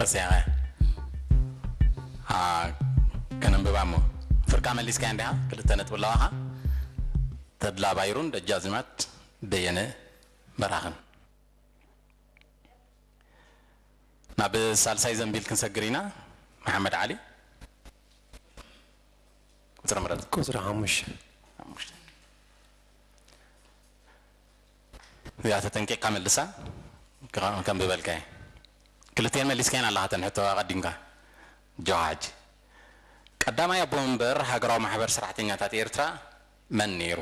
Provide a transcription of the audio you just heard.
ረሲዕኻ። አ፣ ከነንብባ እሞ። ፍርቃ መሊስካያ እንዲኻ? ክልተ ነጥቢ ኣለዋኻ። ተድላ ባይሩን ደጃዝማት በየነ በራኽን። ናብ ሳልሳይ ዘንቢል ክንሰግር ኢና። መሓመድ ዓሊ፣ ቁፅሪ ምረጥ። ቁፅሪ ሓሙሽተ። ሓሙሽተ። እዚኣ ተጠንቂቕካ መልሳ፣ ከ-፣ ከንብበልካ እየ። ክልቲኤን መሊስካየን ኣለኻ፣ እተን ሕቶ ኣቐዲምካ። ጆሃጅ። ቀዳማይ ኣቦ መንበር ሃገራዊ ማሕበር ሰራሕተኛታት ኤርትራ መን ነይሩ?